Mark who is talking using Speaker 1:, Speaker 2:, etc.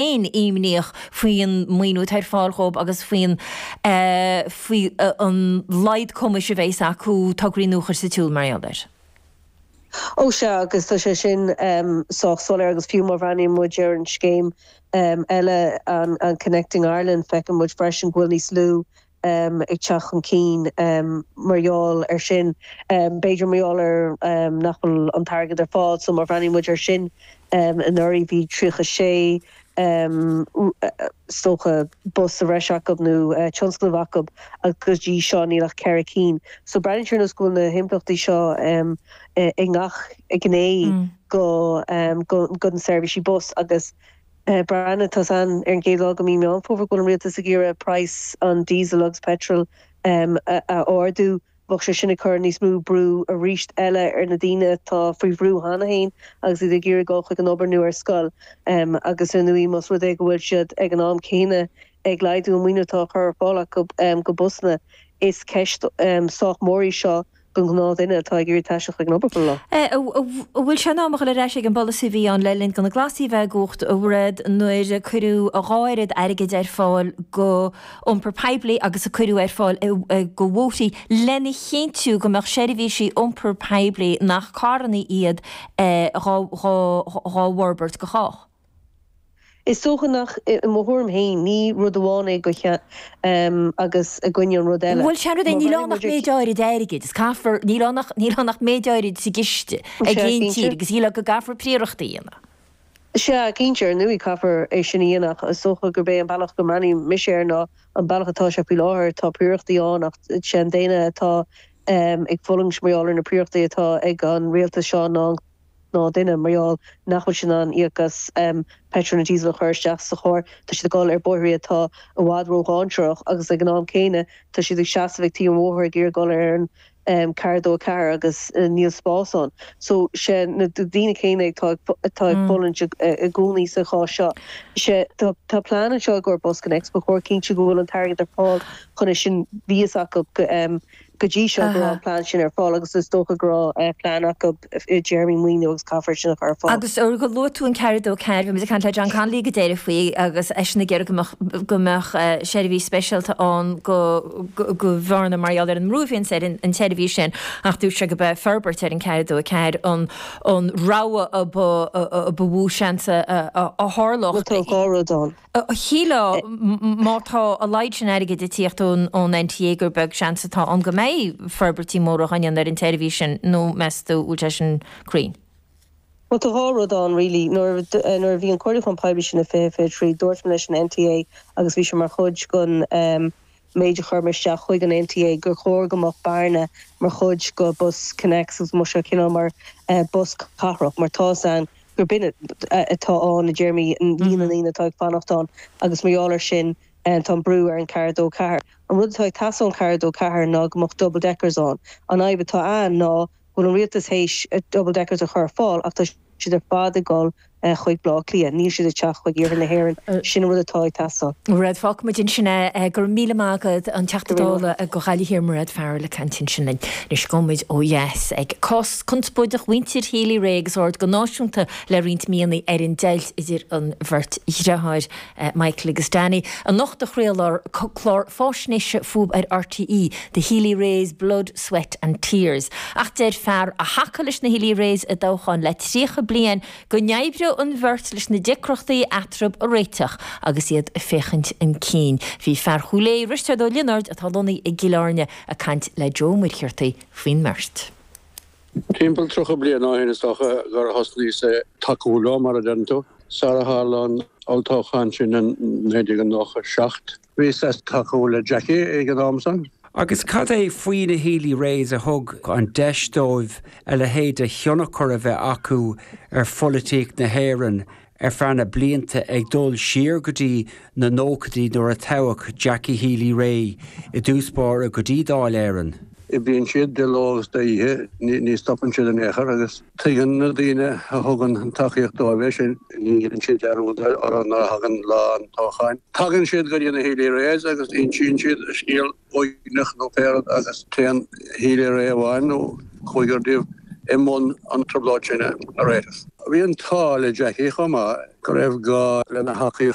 Speaker 1: Féin imníoch faoin maoiniú atá ar fáil dhóibh agus faoin faoi an laghad cumais a bheas acu tograí nua a chur sa tsiúl mar gheall air.
Speaker 2: Ó sea, agus tá sé sin sách soiléir agus fiú má bhreathnaíonn muid ar an scéim eile, an Connecting Ireland, feiceann muid freisin go bhfuil níos lú ag teacht chun cinn mar gheall air sin. B'fhéidir mar gheall ar nach bhfuil an t-airgead ar fáil. So má bhreathnaíonn muid air sin anuraidh bhí 36 is dócha bus sa bhreis acu nó tionscnamh acu agus go dtí seo níl ach 4 cinn. So breathnaíonn sé ar nós go bhfuil na himpleachtaí seo i ngach gné go go na seirbhísí bus agus Breathnaigh, tá's a'inn ar an gcéad lá de mhí Meán Fómhair go bhfuil an rialtas ag iarraidh praghas an diesel agus petrol a ardú. Bheadh sé sin ag cur níos mó brú arís eile ar na daoine atá faoi bhrú cheana féin agus iad ag iarraidh dul chuig an obair nó ar scoil. Agus ar ndóigh más rud é go bhfuil siad ag an am céanna ag laghdú an maoiniú atá á chur ar fáil acu go busanna, is ceist sách mór í seo don ghnáthdhuine atá ag iarraidh taisteal chuig an obair chuile lá.
Speaker 1: An bhfuil sé in am a dhul ar ais ag an bpolasaí a bhí ann le linn do na Glasaigh a bheith i gcumhacht, a Mhairéad, nuair a cuireadh a dhá oiread airgid ar fáil go iompar poiblí agus a cuireadh ar fáil go bhóithrí lena chinntiú go mbeadh seirbhísí iompar poiblí nach carranna iad dhá bhforbairt go chách?
Speaker 2: Is dócha nach, i mo thuairim féin, ní rud amháin é go agus i gcoinne an rud eile.
Speaker 1: Bhuel, sé an rud é, níl ann ach méid áirid airgid, is caithfear, níl ann ach, níl ann ach méid áirid sa gciste ag aon tír agus shílfeá go gcaithfear príorachtaí a dhéanamh.
Speaker 2: Sea, cinnte, ar ndóigh caithfear é sin a dhéanamh ach is dócha gurb é an bealach go mbreathnaím mise air ná an bealach atá sé faoi láthair, tá príorachtaí ann ach sé an duine atá ag fulaingt mar gheall ar na príorachtaí atá ag an rialtas seo ná an gnáthdhuine, mar gheall nach bhfuil siad in ann íoc as petrol nó diesel a chur isteach sa charr, tá siad ag dul ar bóithrí atá i bhfad ródhainséarach agus ag an am céanna tá siad ag seasamh ag taobh an bhóthair ag iarraidh dul ar an 4 2 4 agus níl spás ann. So sé na daoine céanna atá atá ag fulaingt i gcónaí sa chás seo. Sé tá tá plean anseo i gcomhair BusConnects, ba chóir cinntiú go bhfuil an t-airgead ar fáil chun é sin bhí fhios acu go Go dtí seo go raibh an plean sin ar fáil agus is dócha go raibh plean acu i dtéarmaí maoiniú agus caithfear sin a chur ar fáil.
Speaker 1: Agus ó gur luaigh tú an 4 2 4, bhí muid ag caint le John Connolly go deireadh faoi agus eisean ag iarraidh go mbeadh go mbeadh seirbhís speisialta ann go go Bhearna mar gheall ar an mbrú a bhíonns ar an tseirbhís sin ach dúirt sé go b'é forbairt ar an 4 2 4 an an rogha a ba a ba mhó seans a a tharlódh.
Speaker 2: Bhuel tá dhá rud ann.
Speaker 1: Shílfeá má tá a laghad sin airgid ag tíocht ón NTA gur beag seans atá ann go mbeidh forbairtí móra á ndéanamh ar an tseirbhís sin, nó meas tú bhfuil sé sin cruinn?
Speaker 2: Bhuel tá dhá rud ann really. Nuair nuair a bhí an comhairliúchán poiblí sin i 2023 dúirt mé leis an NTA agus bhí sé mar chuid den méid a chuir mé isteach chuig an NTA gur chóir go mbeadh Bearna mar chuid go BusConnects agus go mbeadh sé cineál mar bus cathrach mar tá 'fhios a'inn gur b'in atá ann i dtéarmaí líon na ndaoine atá ag fanacht ann agus mar gheall air sin tá an brú ar an 4 2 4. An rud atá ag teastáil ón 4 2 4 ná go mbeadh double deckers ann. An fhadhb atá ann ná go bhfuil an rialtas théis double deckers a chur ar fáil ach tá siad ar fad ag dul chuig Baile Átha Cliath, níl siad ag teacht chuig iarthar na hÉireann. Sin an rud atá ag teastáil.
Speaker 1: Mairéad, fágfaimid ansin é. Go raibh míle maith agat, an Teachta Dála go Ghaillimh Thiar, Mairéad Farrell ag caint ansin linn. Anois gabhfaimid ó dheas ag cás conspóideach mhuintir Healy-Rae agus aird go náisiúnta le roinnt míonna ar an deighilt idir an bheirt dhreatháir, Michael agus Danny. Anocht a chraolfar clár fáisnéise fúthu ar RTÉ, The Healy-Raes, Blood, Sweat and Tears. Ach deir fear a thacaigh leis na Healy-Raes i dtoghchán le 30 bliain go n-oibreodh an bheirt leis na deacrachtaí eatarthu a réiteach agus iad ag féachaint chun cinn. Bhí fear Chúil Aodha, Risteard Ó Lionáird, atá lonnaithe i gCill Airne, ag caint le Joe Ó Muircheartaigh faoin mbeirt.
Speaker 3: Timpeall 30 bliain ó shin is dócha gur thosnaíos ag tacú leo, mar a deireann tú, sar a tharla an olltoghchán sin in 1997. Bhíos ag tacú le Jackie ag an am san.
Speaker 4: Agus cad é faoi na Healy-Raes a thug an deis dóibh a leithéid de thionchar a bheith acu ar pholaitíocht na hÉireann ar feadh na blianta ag dul siar go dtí na nóchaidí nuair a toghadh Jackie Healy-Rae i dtús báire go dtí Dáil Éireann?
Speaker 3: Oibríonn siad de ló agus d'oíche, ní stopann siad in aon chor agus tuigeann na daoine a thugann an tacaíocht dóibh é sin. Ní dhéanann siad dearúd orthu nuair a thagann lá an toghcháin. Tagann siad go dtí na Healy-Raes agus insíonn siad a scéal uaigneach nó pé rud agus téann Healy-Rae amháin nó cúigear díobh i mbun an trioblóid sin a réiteach. Bhí an t-ádh le Jackie chomh maith. go raibh gá lena thacaíocht.